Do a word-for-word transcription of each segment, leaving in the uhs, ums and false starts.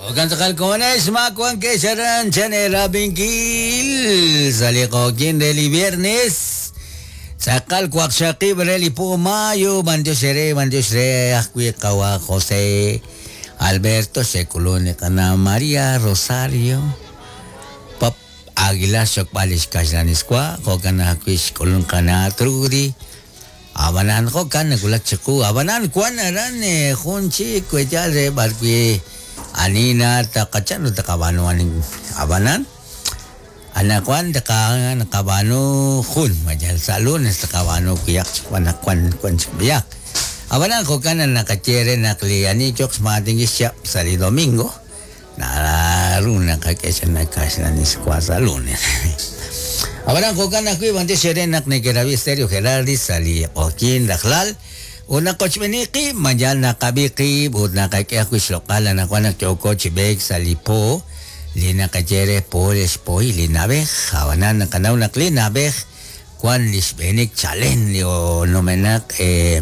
Jo'kan tz'aqal komonex ma wankex aran chan erab'inkil sa' li q'oqyin re li viernes tz'aqal waqxaqib' re li po mayo b'antiox re b'antiox re ajwi' qawa José Alberto xe'k'ulun li qana María Rosario Pop Aguilar xokb'al lix kaxlaniswa jo'kan ajwi' xk'ulun qana Trudy Abanan jo'kan nawulak chiqu abanan wan aran jun chik weyal re b'arwi' anina taqachan taqab'anu abanan anaqwan taqa naqab'anu jun mayal sa' lunes taqab'anu kuyaq chik anaqwan wan chik b'iyaq abanan jo'kan naqaye re naq li ani yoq xmaatin xchap sa' li domingo naru naqak'e xana kaxlaniswa sa' lunes. Abanan jo'kan ajwi' b'antiox re naq nekerab'i Stereo Gerardi sa' li q'oqyin rajlal ut naqochb'eni qib' mayal naqab'i qib' ut naqak'e ajwi' xloq'al anaqwan naq yooko chi b'eek sa' li po li naqaye re po lix poy li na'b'ej abanan naqanaw naq li na'b'ej wan li xb'eenik chalen li numenaq eh,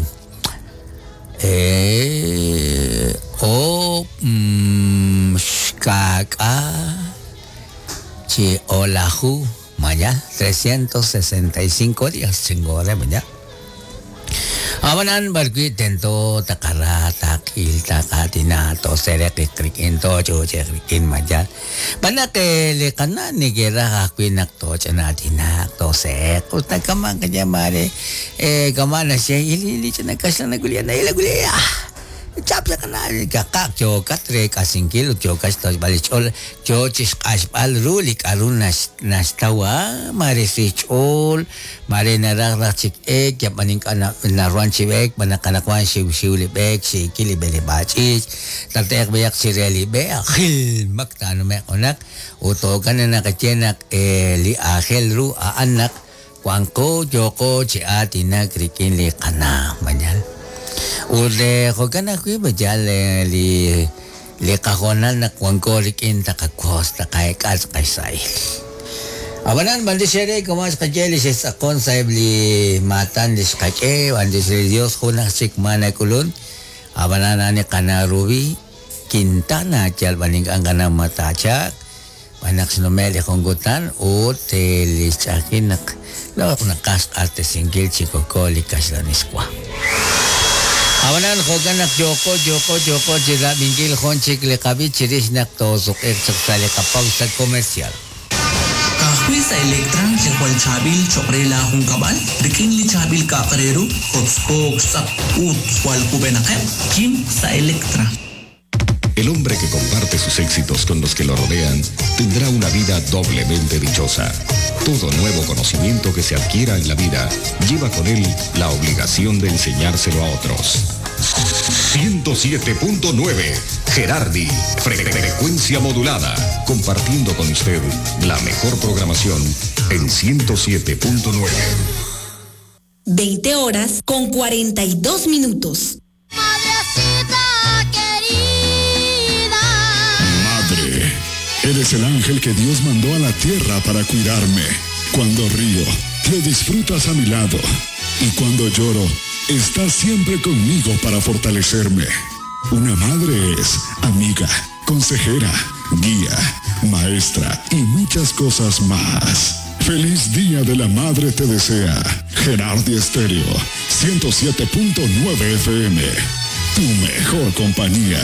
eh, o mm, xkak'a chi olaju maya trescientos sesenta y cinco días chingore maya abanan barqui tento taqara taqil taqatina to sereq rikin to chucheq rikin maya banaq li qana nikeraj ajwi' naq toch'anatina to seq ut nakaman kaya mare eh kamana siya ili ili chana kaxlan nagulia na ila gulia chap ya kana kaqaq yokat re k'asinkil ut yokat xtochb'al li ch'ol yo chixq'axb'al ru li k'aru naxtawa mare si ch'ol mare naraj raj chik ek yab'an ink'a' naruhan chi b'eek b'anaq anaqwan xiwxiw li b'eek xiikil li b'eleb'aal ch'iich' tate'q b'ayaq chire li b'e ajilmak taanume'q junaq ut jo'kan naqaye naq li aajel ru a'an naq wanqo yoqo chi aatinak rik'in li qana mañal ut jo'kan ajwi' mayal li li qajonal naq wanko rik'in taqakos taqaek'al tz'aqal abanan b'antiox re como xqaye li xe'tz'aqon sa'eb' li maatan li xqak'e b'antiox re Dios jun aj chik ma nak'ulun abanan ani qana Ruby Quintana yal b'an ink'a' qana matachaq b'anaq xnume' li jun kutan ut li xch'ajin naq loq naqaj xq'axtesinkil chi koko li kaxlaniswa. Abanan jo'kan naq yoko yoko yoko chi rab'inkil jun chik li qab'i chirix naq toosuq'iq chaq sa' li qapausa comercial. Ka'ajwi' sa' Electra li jwal chaab'il cho'q re laajunkab'al rik'in li chaab'il k'a'aq re ru kotzkook xtz'aq ut jwal kub'enaqeb' kim sa' Electra. El hombre que comparte sus éxitos con los que lo rodean tendrá una vida doblemente dichosa. Todo nuevo conocimiento que se adquiera en la vida lleva con él la obligación de enseñárselo a otros. ciento siete punto nueve Gerardi, frecuencia modulada, compartiendo con usted la mejor programación en ciento siete punto nueve. veinte horas con cuarenta y dos minutos. Madrecita querida. Madre, eres el ángel que Dios mandó a la tierra para cuidarme. Cuando río, lo disfrutas a mi lado. Y cuando lloro, estás siempre conmigo para fortalecerme. Una madre es amiga, consejera, guía, maestra y muchas cosas más. Feliz Día de la Madre te desea Gerardi Estéreo, ciento siete punto nueve F M, tu mejor compañía.